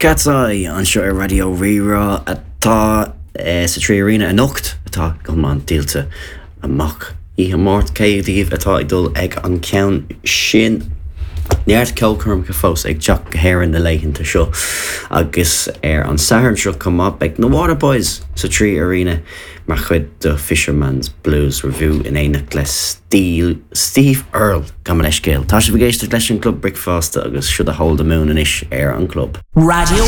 Cat's Eye anseo ar Raidió Rí-Rá atá sa 3Arena anocht, atá go hiomlán díolta amach. Oíche Máirt, cé díobh atá ag dul ag an ceann sin? Neart ceolchoirmeacha fós ag teacht go hÉirinn na laethanta seo agus ar an Satharn seo chomh maith beidh na Waterboys sa 3Arena mar chuid de Fisherman's Blues Revue in éineacht le Steve Earle. Gabh mo leithscéal. Tá sibh ag éisteacht leis an gClub Bricfeasta agus seo The Hole the Moon anois ar an gClub. Raidió.